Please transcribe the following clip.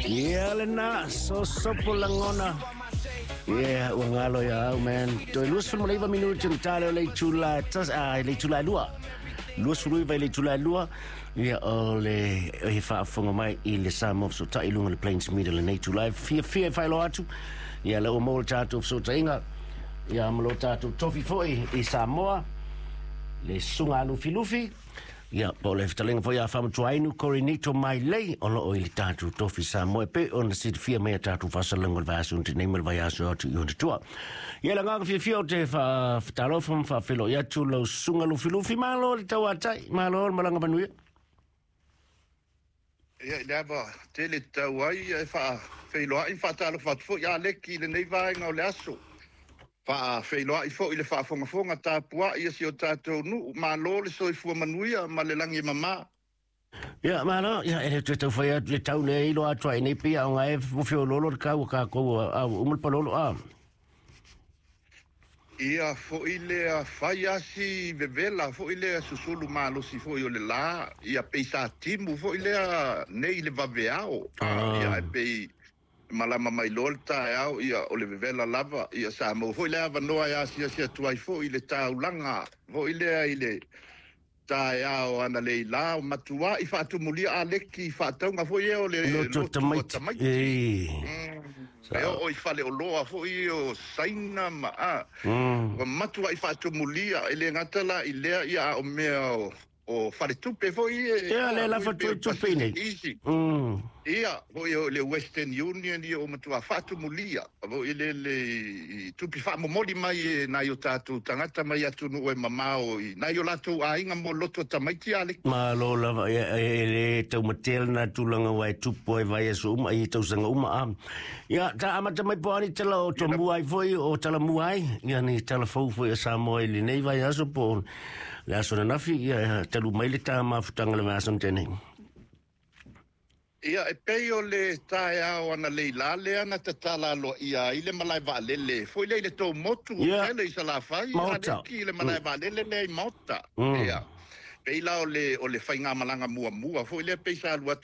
Ia lena, sosopo lagona. Ia, ua galo ia au, man. Toe 29 minute na tale o le itula, le itula e 2. 29 i le itula e 2. Ia, o le e faafofoga mai i le Samoa Fesootai i luga o le Plains Media lenei itula e fiafia e faailoa atu. Ia, lea ua maua le tatou fesootaiga. Ia, ma lo tatou tofi foi i Samoa. Le susuga a Lufilufi. Ia, po o le fetalaiga foi a Faamatuainu Korinito Mailei o loo i le tatou tofi Samoa e pei ona silafia mai a tatou faasalaga o le vaiaso na nei ma le vaiaso atu i ona tua. Ia, le agaga fiafia o te faatalofa ma faafeiloai atu lau susuga Lufilufi. Malo le tauatai, malo le malaga manuia. Ia, i le ava tele tatau ai e faafeiloai ma faatalofa atu foi Aleki i lenei vaega o le aso. Faafeiloai foi i le faafogafoga tapuai a si o tatou nuu. Malo le soifua manuia ma le lagi e mama. Ia, malo, ia, e le toe taufai atu le tau lea e iloa atu ai nei pei a o e feoloolo le kau a kākou a ua uma le palolo a. Ia foi lea fai asi vevela foi lea susulu malosi foi o le la, ia pei sa timu foi lea nei le vaveao. Ia e pei malama mai loa le taeao, ia o le vevela lava, ia sa maua foi le avanoa e asiasi atu ai foi i le taulaga foi lea i le taeao analeila o matuai faatumulia Aleki faatauga foi ea o le lotu tamaiti. E oo i faleoloa foi o Saina ma a. Ua matuai faatumulia e le gata la i lea ia a o mea o faletupe foi e. Ia, le lafa tupe nei. Ia, foi o le Western Union ia o matua faatumulia foi le i tupe faamomoli mai e nai o tatou tagata mai atunuu e mamao i nai o latou aiga mo lotu tamaiti Aleki. Malo lava, ia, e le taumatea lena tulaga ua e tupu ai vaiaso uma i tausaga uma a. Ia, ta amata mai po ani tala o tomua ai foi o talamua ai, ia ni tala fou foi a Samoa i lenei vaiaso po le aso ananafi, ia talu mai le ta mafutaga le vaiaso na tea nei. Ia, e pei o le taeao analeila lea na tatala aloaia ai le malae vaalele foi lea i le tou motu tele i Salafai, Maota. Aleki, le malae vaalele lea i Maota. Ia, pei la o le faigamalaga muamua foi lea pei sa alu atu